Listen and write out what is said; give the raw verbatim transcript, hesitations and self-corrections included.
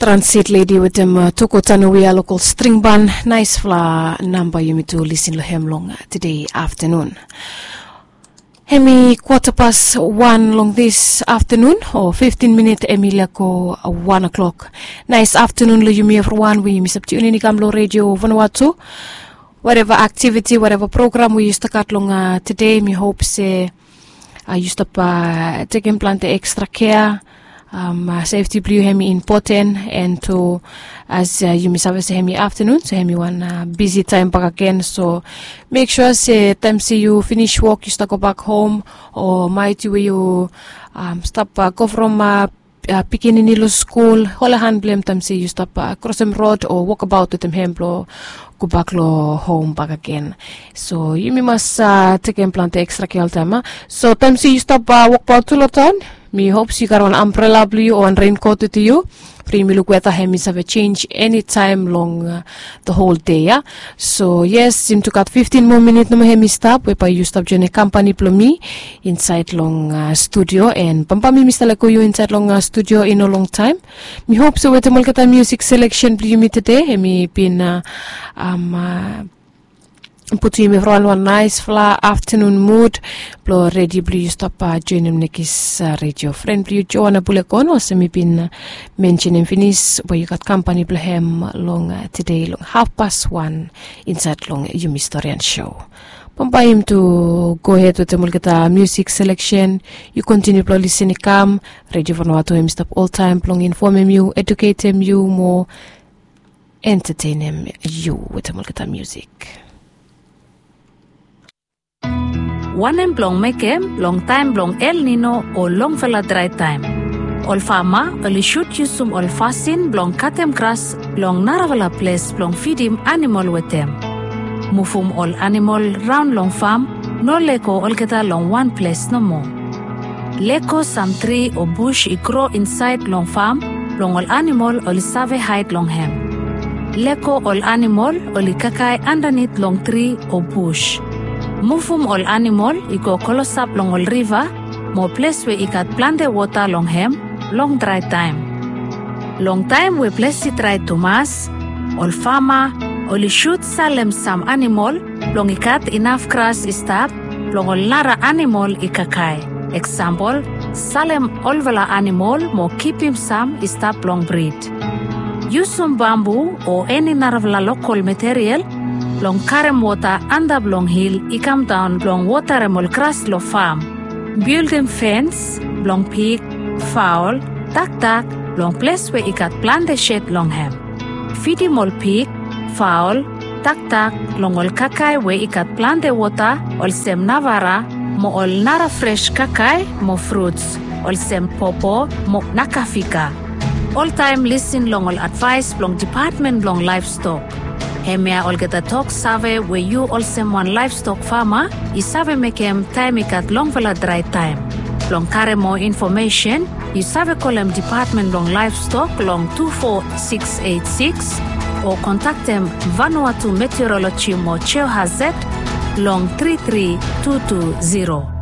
Transit ledi wetem toko tanowi a lokol stringban. Naisfala namba yumi tu lisin long hem long tede aftanun. Hemi kwata pas wan long dis aftanun o fiftin minit hemi leko wan o'klok. Nais aftanun long yumi evriwan we yumi save tiunin i kam long redio vanua tu. Wateva aktiviti, wateva program we yu stap gat long tede, mi hop se yu stap tekem plante ekstra kea. Sefti blong yu hemi impoten, and tu as yumi save se hemi aftanun, so hemi wan bisi taem bakegen. So mek sua se taem se yu finis wok yu stap gobak hom, o maet we yu stap go from pikinini long skul, holem han blong hem taem se yu stap krosem rod o wokabaot wetem hem blong gobak long hom bakegen. So yumi mas tekem plante ekstra kea oltaem. So taem se yu stap wokbaot tu long taon, mi hop se yu gat wan ambrela blong yu o wan renkot wetem yu, blo yumi luk weta hemi save jenj enitaem long the whole dei ya. So yes, yumi tu gat fiftin moa minit nomo hemi stap we bae yu stap joenem kampani blong mi insaed long studio, and bambae mi stap lego yu insaed long studio i no longtaem. Mi hop se wetem olgeta musik seleksen blong yumi tede hemi bin putum yumi evriwan long wan naisfala aftanun mud blong redi blong yu stap joenem nekis redio fren blong yu, Joana Bulekon, olsem mi bin mensenem finis, we yu gat kampani blong hem long tede long hafpas wan insaed long yumi storian sou. Bambae yumi tu gohed wetem olgeta musik seleksen. Yu kontiniu blong lisin i kam. Redio Vanua tu hemi stap oltaem blong infomem yu, eduketem yu mo entatenem yu wetem olgeta musik. Wanem blong mekem long taem blong El Nino o longfala drae taem? Ol fama oli sud yusum ol fasin blong katem gras long narafala ples blong fidim anamol wetem. Muvum ol anamol raon long fam, no lego olgeta long wan ples nomo. Lego sam tri o bus i gro insaed long fam blong ol anamol oli save haed long hem. Lego ol anamol oli kakae andanit long tri o bus. Muvum ol anamol i go klosap long ol riva mo ples we i gat plante wota long hem long drae taem. Long taem we ples i drae tumas, ol fama oli sud salem sam anamol blong i gat inaf gras i stap blong ol nara anamol i kakae. Eksampol, salem olfala anamol mo kipim sam i stap blong brid. Yusum bambu o eni narafala lokol material blong karem wota antap long hil i kamdaon blong wotarem ol gras long fam. Bildim fens blong pig, faol, taktak long ples we i gat plante sed long hem. Fidim ol pig, faol, taktak long ol kakae we i gat plante wota olsem navara mo ol nara fres kakae mo fruts olsem popo mo nakafika. Oltaem lisin long ol advaes blong Dipatmen blong Laevstok. Hemia olgeta toksave we yu olsem wan laevstok fama i save mekem taem i gat longfala drae taem. Blong karem moa infomesen, yu save kolem Dipatmen blong Laevstok long tu fo sikis eit sikis o kontaktem Vanuatu Meteoroloji mo Geohazard long tri tri tu tu ziro.